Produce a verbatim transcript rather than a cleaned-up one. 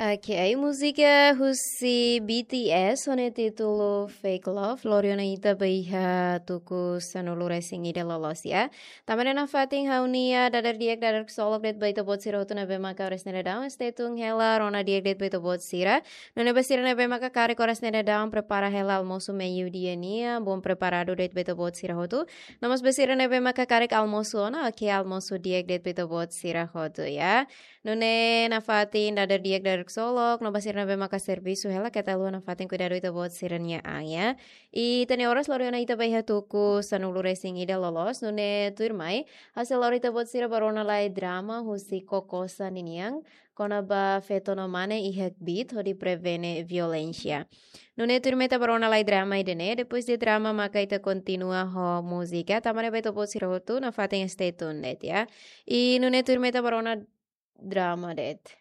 Ok, múzika husi B T S ho nia títulu Fake Love, lori ona ita ba iha tuku sanulu-resin-ida loloos, ya. Tanba ne'e nafatin ha'u-nia dadeer di'ak, dadeer ksolok de'it ba ita-boot sira hotu ne'ebé maka oras ne'e daudaun stay tune hela, rona di'ak de'it ba ita-boot sira. Nune'e ba sira ne'ebé maka karik oras ne'e daudaun prepara hela almosu meiudia nian, bom preparadu de'it ba ita-boot sira hotu. No mós ba sira ne'ebé maka karik almosu ona, ok, almosu di'ak de'it ba ita-boot sira hotu, ya. Nune'e nafatin dadeer di'ak, dadeer ksolok, no ba sira ne'ebé maka servisu hela, keta haluha nafatin kuidadu ita-boot sira-nia an, ya. I ita-nia oras lori ona ita ba iha tuku sanulu-resin-ida loloos, nune'e tuirmai ha'u sei lori ita-boot sira ba rona lai drama husi Kokosa ninian, kona-ba feto no mane iha kbiit hodi prevene violénsia. Nune'e tuirmai ita ba rona lai drama ida-ne'e, depois de drama maka ita kontinua ho múzika, tanba ne'e ba ita-boot sira hotu nafatin stay tuned de'it, ya. I nune'e tuirmai ita ba rona drama de'it.